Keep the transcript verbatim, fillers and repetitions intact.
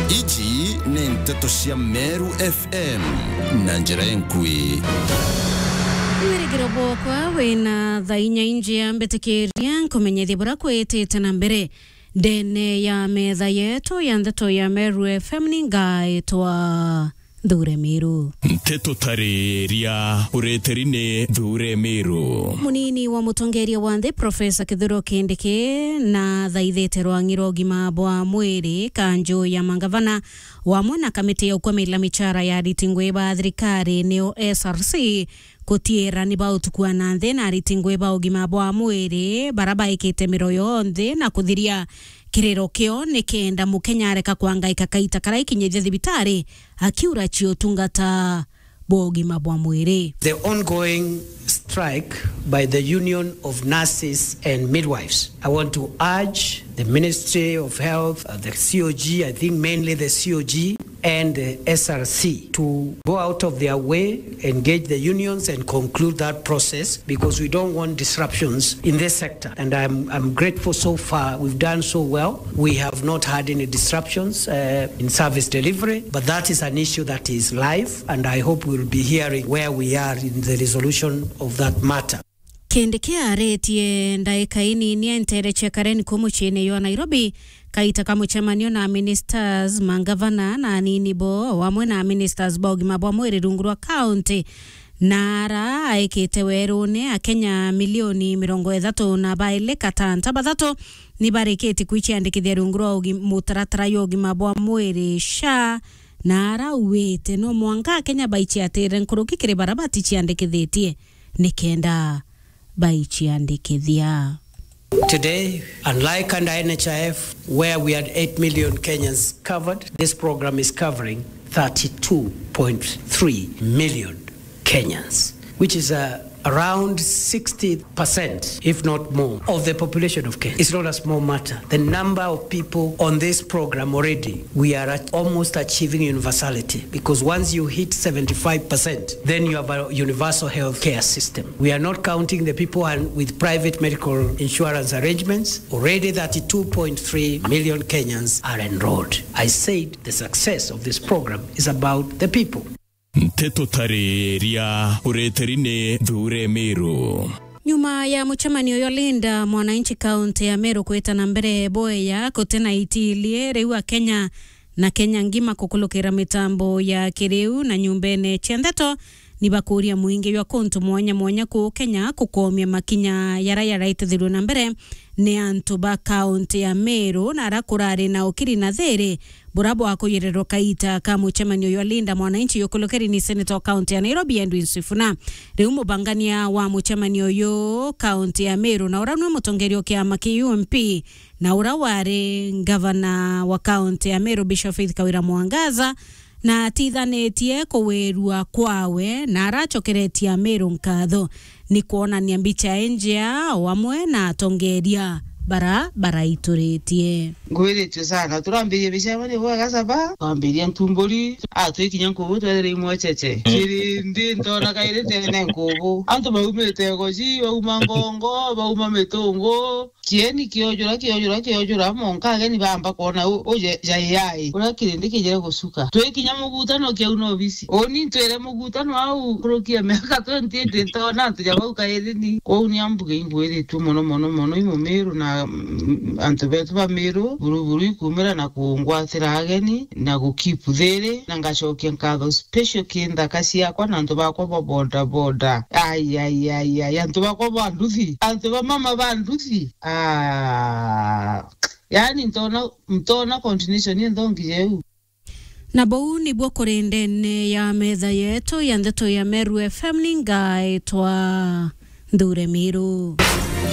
Iji ni nteto cia Meru F M na njira enkui. Wirigiro bwakwa wina thaa inya injia, mbitikiria nkumenyithie bura kwitite na mbere. Ndene ya metha yetu ya nteto ya Meru F M ni ngaitwa Nthure Miru. Nteto tariria ureteri ni Nthure Miru. Munini wa mutongeria wa nthi, Profesa Kithure Kindiki, na thaithite rwangi rwa ugima bwa mwiri kanju ya mangavana, wamwe na kamiti ya ukwamila michara ya ariti ngui ba thirikari, niyo S R C, kutiira ni ba utukua na nthi na ariti ngui ba ugima bwa mwiri bara baikite miro yonthe na kuthiria kiriro kio, nikenda Mukenya areka kwangaika kaita karaikinyithia thibitari akiura cia utungata bwa ugima bwa mwiri. The ongoing strike by the Union of Nurses and Midwives. I want to urge the Ministry of Health, uh, the C O G, I think mainly the C O G, and the S R C to go out of their way, engage the unions and conclude that process, because we don't want disruptions in this sector. And I'm, I'm grateful so far. We've done so well. We have not had any disruptions, uh, in service delivery, but that is an issue that is live, and I hope we'll be hearing where we are in the resolution of that matter. Kindiki aritie ndaika inini entere cia Karen ku muciine jwa Nairobi, kaita ka mucemanio na ministers, mangavana na anini bo, o amwe na ministers ba ugima bwa mwiri rungu rwa county, na ara aikite werune Akenya milioni mirongo ithatu na baili katanta bathatu ni barikitie kwiciandikithia rungu rwa ugi-, mutaratara jwa ugima bwa mwiri, SHA, na ara auite no mwanka Akenya baiciatire nkuruki kiri bara baticiandikithitie nikenda baiciandikithia. Today, unlike under N H I F, where we had eight million Kenyans covered, this program is covering thirty-two point three million Kenyans, which is, uh, around sixty percent, if not more, of the population of Kenya. It's not a small matter. The number of people on this program already, we are at almost achieving universality, because once you hit seventy-five percent, then you have a universal health care system. We are not counting the people and with private medical insurance arrangements. Already thirty-two point three million Kenyans are enrolled. I said the success of this program is about the people. Nteto tariria ureteri ni Nthure Miru. Nyuma ya mucemanio jwa Linda Mwananchi kaunti ya Meru kwita na mbere bweya, guti na itilie riu Akenya na Kenya ngima kukulukira mitambo ya kiriu na nyumbene cia ndeto, ni bakuria muingi jwa kuntu mwanya mwanya kuu Kenya kukomia makinya jara jaraitithirwe na mbere ni antu ba kaunti ya Meru, na ara kurari na ukiri na thiri bura bwakuyirirwa kaita ka mucemanio jwa Linda Mwananchi yukulukiri ni senator wa kaunti ya Nairobi, Edwin Sifuna. Riu mubangania wa mucemanio uyu kaunti ya Meru, na ura nwe mutongeria wa kiama kia U M P, na ura wari ngavana wa kaunti ya Meru, Bishop Faith Kawira Mwangaza, na atithanitie kuwirua kwawe, na aracokeretie Ameru nkatho ni kwonania mbicha injea o amwe na atongeria bara baraituritie. Ngwiritue sana, turambirie micemanio bwega caba, twambiria ntumburi, a twikinya nkubu twethire imwecheche. Kiri ndi ntona kairi ndene nkubu. Antu baumite Goji, bauma Ngongo, bauma Mitungu, kieni kiojura, kiojura, kiojura, monka ageni bamba kwona u, u ja, ja A I. Uria kirindi kijire gucuka. Twikinya mugutano kiauna obisi. Uni ntwire mugutano au nkuruki ya miaka twenty eight ntona antu ja bau kairi ni. Kwou ni ambuge ingwiritue mono, mono, mono i Mumiru na, mm, antu betu ba Miru, buru, buru ikumira na kungwatira ageni, na gu keep thiri, na ngacokia nkatho special ki nthaka ciakwa na antu bakwa ba boda boda. Ai, ai, ai, ai, antu bakwa ba nduthi, antu ba mama ba nduthi. Ah, yani ntona, ntona continuation nthongi jeu. Na bou nibuo kuri ndene ya metha yetu ya ndeto ya Meru F M, ni ngaitwa Nthure Miru.